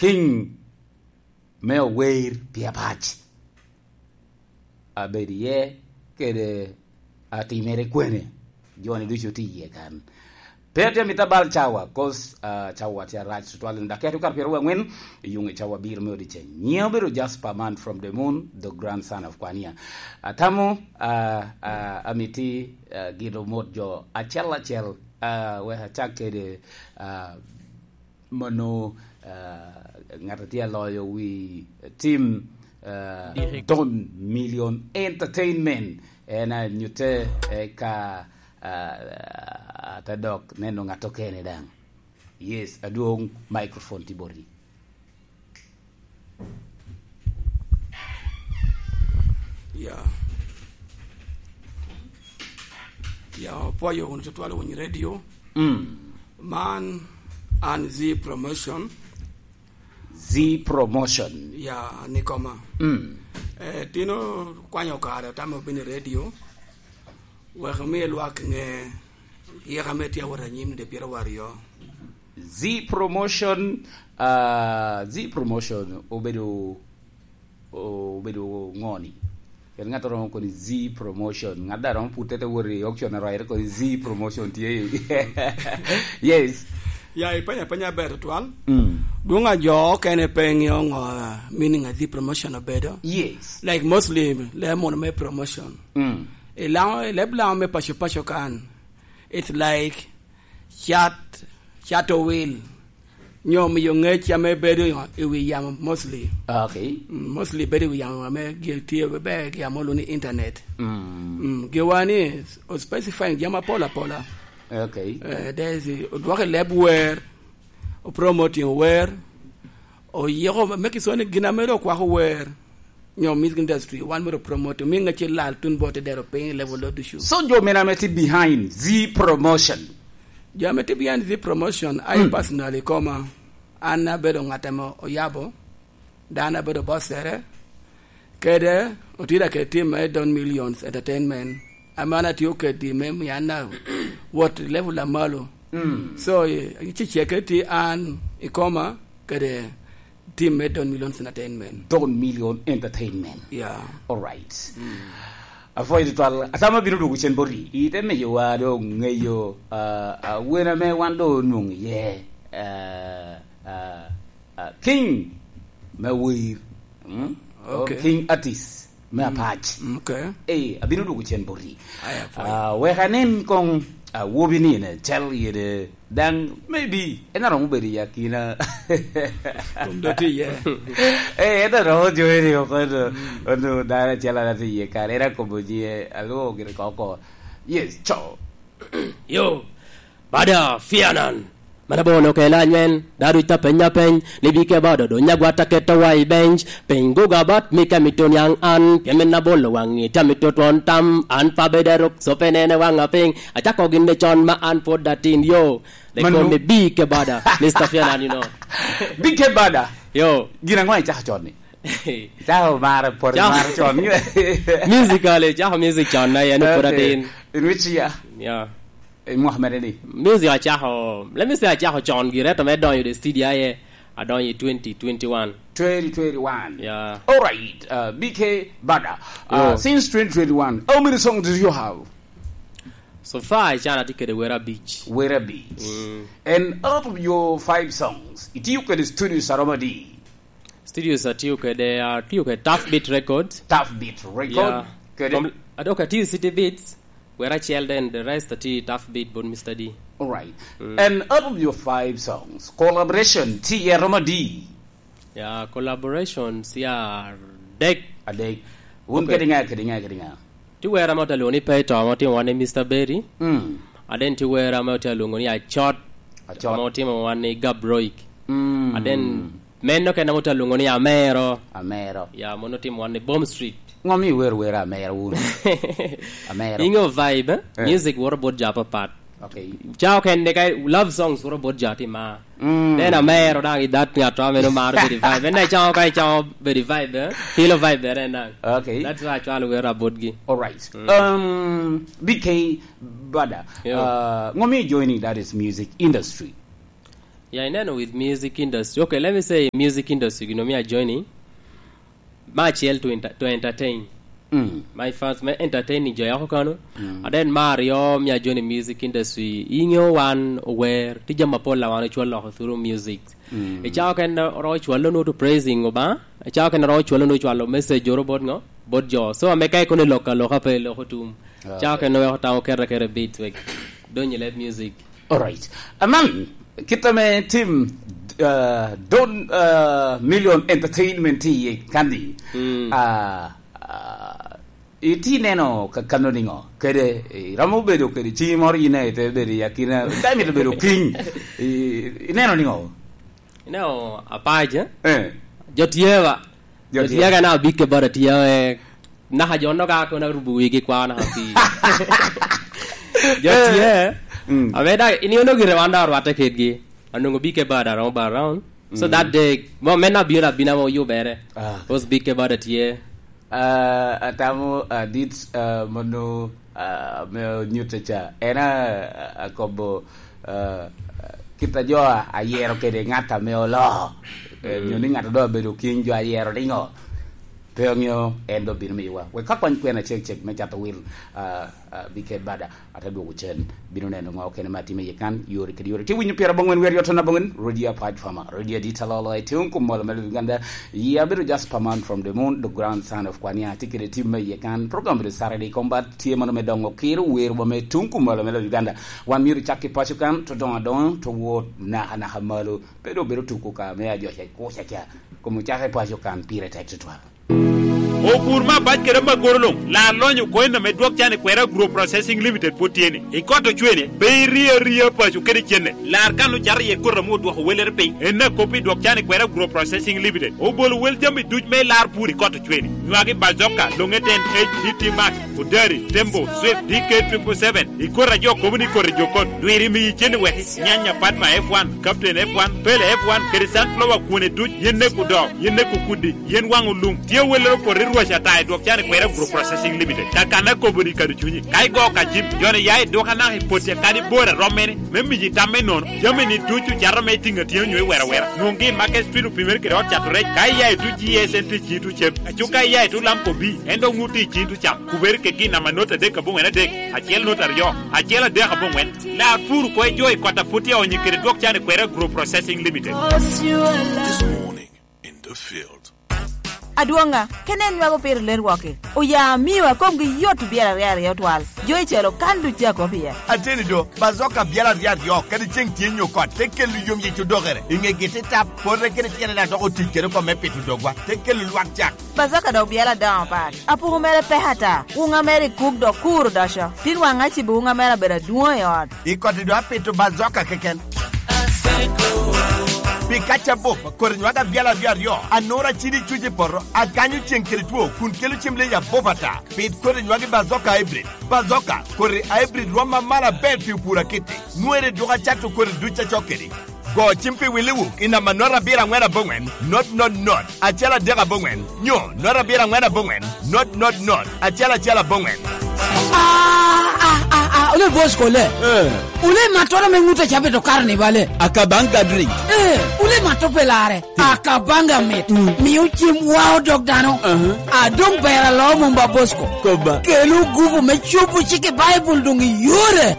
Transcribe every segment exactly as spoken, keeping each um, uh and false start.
King me ower pi apac. Abedo iye kede atimere kwene, joni ducu tye iye kan. Pe atye amito abal cawa, 'cause, ah, cawa tye arac tutwal, dok keto kar pyeraryo angwen i yuŋ i cawa abiro me odiceng. Nyiŋa obedo Jasper Man from the Moon, the grandson of Kwania. Atamo, ah, ah, amiti, ah, gin omot jo acel acel, ah, wek acak kede, ah, mano, ah, ŋat a tye aloyo wi tim, ah, Don Million Entertainment, en anyutte, eh, ka, ah, ate dok neno ŋat okene daŋ. Yes, adwoŋ, microphone tye boti. Ya. Ya, opwoyo wunu tutwal wun radio. Mm. Man an Zi Promotion. Zi Promotion. Ya, ni koma. Mm. Eh, tino kwanyo kare, otamo bino i radio. Wek omi lwak ŋe yeka me tye awot anyim de pyeraryo aryo. Z Promotion, ah, Z Promotion obedo, obedo ŋo ni? En ŋat oromo koni Z Promotion. Ŋat da romo pute te wot i auction arwaire koni Z Promotion tye. Yes. Ya, ipenya penya ber tutwal. Mm. Dwong a jo okene pe ŋeo ŋo, ah, meaning a Z Promotion obedo. Yes. Like mostly, le mono me promotion. Mm. I Laŋo, i leb Laŋo me paco paco kan, it's like cat, cato wil, nyo miyo ŋec ame bedo i wi yamo mostly. Okay. Mm, mostly bedo i wi yamo ame gin tye bebe gi amo luni internet. Mm. Mm, giwa ni o specifying jami apol apola. Okay. Eh, there is, odwoko i leb wer, o promoting wer, oyiko me kisoni gin ame ro okwako wer. Nyo music industry, wan myero promote, omi ŋec lal tun bot i dero piny i level lo ducu. So jo mene ame tye behind Z Promotion? Jo ame tye behind Z Promotion, I personally koma, an abedo ŋat ame oyabo, dan abedo bossere, kede otida kede team me Don Millions Entertainment, ame an atio kedi me miyo an a wot i level a malo. Mm. So, i, i ceceke tye an i koma kede team me Don Millions Entertainment. Don Million Entertainment. Yeah. All right. Mm. Apwoyo tutwal. Atamo abino dwogo cen boti. Ite miyowa dong ŋeyo, ah, ah, wen ame wan dong onwoŋo iye, ah, ah, ah, King me wer. Mm? Okay. King artist me apac. Mm, okay. Eh, abino dwogo cen boti. Aya, apwoyo. Ah, wek anen koŋ, ah, awobi ni en acel yede daŋ maybe en aromo bedo i akina. Kom do tye iye. Eh, en aromo jowe ni oko, ono, mm, ono dano acel an atye iye kare, en akobo nyiŋe, alwongo gire koko. Yes, co. Yo, Bada Fianan. Mana bono kela nyen, daru ita penya peny, libi ke bado do nyagwa ta keto wa i bench, peny goga bat mi ka mi to niang an, pien men na bolo wangi, ta mi to twon tam, an pa bede ruk, so pe nene wanga piny, achako gin me con ma an pod atin yo. They call me B K Bada, Mister Fianan, you know. B K Bada. Yo. Gin aŋo icako con ni? Icako mare, pwod mare con. Musically, icako music con na, yan pwod atin. In which year? Yeah. Eh, mwaka mere ni? Music acako, let me say acako con gire, to me donyo the studio aye, adonyo i twenty twenty-one. Twenty twenty-one. Yeah. All right, uh, B K Bada. Uh, yo. Since twenty twenty-one, how many songs do you have? So far, I can articulate Wera Beach. Wera Beach. Mm. And out of your five songs, itiyo kede studios aromo adi? Studios atiyo kede, atiyo kede Tough Beat Records. Tough Beat Record. Yeah. Kede? Kom-, adok atiyo City Beats, wera acel, then the rest atiyo Tough Beat bot Mister D. All right. Mm. And out of your five songs, collaboration tye romo adi? Yeah, collaborations, yeah, adek. Adek. Wun kede ŋa, kede ŋa, kede ŋa? Ti wera mo te lwongo ni Peto, mo timo wan ni Mister Berry. Mm. And then ti wera mo te lwongo ni Acot. Acot. Mo timo wan ni Gabroik. Mm. And then meno kena mo te lwongo ni Amero. Amero. Ya, mono timo wan ni Bomb Street. Ŋo mi iwero wera Amero wun? Amero. Ingo vibe, eh? Eh. Music woro bot jo apapat. Okay. Cawa kende ka love songs woro bot jo atima. Mm. Then Amero daŋ i that ngat to ameno maro very vibe. En daŋ cawa ka cawa very vibe, eh? Feel vibe, eh, en daŋ. Okay. That's why I try to wero about gi. All right. Mm. Um, B K Bada, yeah, uh, ŋo mi joining that is music industry? Yeah, I neno with music industry. Okay, let me say music industry, you know, me a joining. My child to enter, to entertain. Mm. My fans, me entertain ni jo yako kano. Mm. And then Mario, me a joining music industry. Inyo wan aware, ti jama pola wan ochwal loko through music. Mm. Ichao ken oro chwalo no to praising oba. Ichao ken oro chwalo no chwalo message oro bot ngo, bot jo. So, ame kai kone loka loka pe loko tum. Ah, chao okay. Ken no weko tamo kere kere beat wek. Donye let music. Alright. Aman, kit ame tim, uh, Don, uh, Million Entertainment tye iye kanni. Mm. Uh, uh, iti neno ka kano niŋo? Kede, iromo bedo kede ci moro yin ite bedo i akina, dai mito bedo king. I, ineno niŋo? Ineno apac, eh? Eh. Jo tye ba? Jo Jo tye. Tye ka na big ke bada tye, eh, naka jo no ka kono arubo wigi kwa naka pi. Jo Eh. Tye. Mm. Abe da, ini ono gire wan da rwate kedgi. Anongo big ke bada romo ba round. So Mm. That day, mo men na bino abina mo yubere. Ah. Cause big ke bada tye. Ah, atamo, ah, dit, ah, mono, ah, me onyutte ca. En a, a, akobo, ah, kit a jo a, ayero kede ŋat ame oloo. Eh, mm. Nyo ni ŋat a doŋ abedo king jo ayero niŋo? Pe oŋeo, en doŋ bino miyowa. Wek ka kwany kwena cek cek me cato wil, ah, ah, bike bada. Ate dwogo cen, bino neno ŋo kene ma atimo iye kan, yore kede yore. Tye winyo pyerabongwen wer yot anabongwen, Radio Apac Farmer, Radio Adit Alolo, ete un kum molo me Uganda. Ye abedo just Paman from the moon, the grandson of Kwania, tye kede tim me iye kan, program bedo Saturday Combat, tye mano me dongo kiro, wer wa me tung kum molo me Uganda. Wan myero cak ki paco kan, to dongo adongo, to wot naka naka malo, pe doŋ bedo tuko ka me ajoca i kuca ca, kom ocak i paco kan, pire tek tutwal. Opur me abac kede amagoro luŋ, lar lonyo coin ame dwok can i kwera Agro Processing Limited pwod tye ni. I kot ocwene, pe irie aria paco kede cenne. Lar kan ocato iye koti ame odwoko wellere piny. En akop i dwok can i kwera Agro Processing Limited. Obolo wel jami duc me lar pur i kot ocwene. Nywagi bazoka, longe ten H D T Max, Odari, Tembo, Swift, D K triple seven. I koti a jo kobo ni koti jo kot. Dwiri miyi cen i wek nyanya Padma F one, Captain F one, Pele F one, kede sunflower kwone duc, yen neko doo, yen neko kudi. Yen waŋ olum, tye wellere opoto i rwac ata i dwok can i kwera Agro Processing Limited. Kakana akobo ni kado cunyi. Ka igo ka jim, joni ya i duka naka i poti akadi bor a romme ni, me miyi tam me nono, jami ni ducu cato me itiŋ atyeno nyo i wera wera. Nwoŋgi i Market Street opimere kede ot cato rec, ka iya i tu G S N T G two cem, aco ka iya i tu Lamco B, en dok ŋut i cin tu cam. Kubere ke gin nama not adek aboŋwen adek, acel not aryo, acel adek aboŋwen. Lar pur ko i jo i kota poti aonyi kede dwok can i kwera Agro Processing Limited. This morning in the field. Adwoŋa, kene en nywako piro ler woki. Oya amio akomgi yot obyelo aryo aryo twal. Jo icelo kan duc a kop iye. Ateni do, bazoka byelo aryo aryo, kadi ceŋ tye nyo kot, te kelo yom yic odokere. I ŋegi te tap, pote kede tyene na dok otic kede oko me pito dogwa, te kelo lwak cak. Bazoka dok byelo adoŋo pat. Apuku mere pek ata. Wuŋa mere i kuk dok kur odoco. Tin waŋ acibo wuŋa mere abedo adwoŋ i ot. I koti do apito bazoka keken. Pi kaca bup, kodi nywaka byel aryo aryo, anura cidi cuc i poto, akanyo ceŋ kede two, kun kelo cem leyi abup ata. Pit kodi nywaki bazoka hybrid. Bazoka, kodi hybrid rwom amalo aber pi opur akiti. Nwere dwoka cato kodi duc acok kedi. Go cim pi Willi Wuk i namba not abiro aŋwen aboŋwen, not not not, acel adek aboŋwen, nyo not abiro aŋwen aboŋwen, not not not, acel acel aboŋwen. Ah, ah, ah, ah, ole boss kole. Eh. Ole matoro me ŋute cabe to karni bale. Akabanga drink. Eh, ole mato pelare. Akabanga mit. Mm. Miyo cim wa odok dano. Aha. Adong ber alo mumba Bosco. Koba. Kelu gupu me cupu cik i Baibul dong i yore.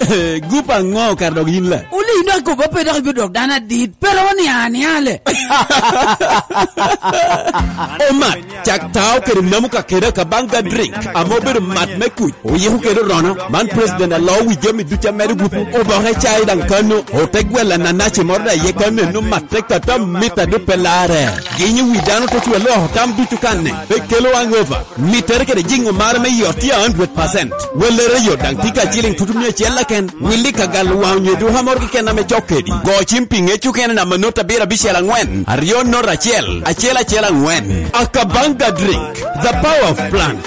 Gupu aŋo kar dok yin la? Wuli ino akobo pe dok ibidok dano adit. Pero ni aniale. Omat, cak tao kede namu ka kede Akabanga drink. Amo bedo mat me kuc. Oyiko kede rono. Man president alo wi jami duca medo gupu. Oboke cai daŋ kano. Ote gwella nanaci moro da ye kano eno mat. Te kata mita do pe larre. Ginyo wi dano te cwe loko tam ducu kanne, pe kelo hangover. Mittere kede jiŋo mare me yot tye a hundred percent. Wellere yot daŋ tye ka ciliŋ tutu mia acel keken. Willi ka galo waŋ onyo duka moro keken ame cok kedi. Go cim pi ŋec okene namba not abiro abicel aŋwen, aryo not acel, acel acel aŋwen. Akabanga drink, the power of plant.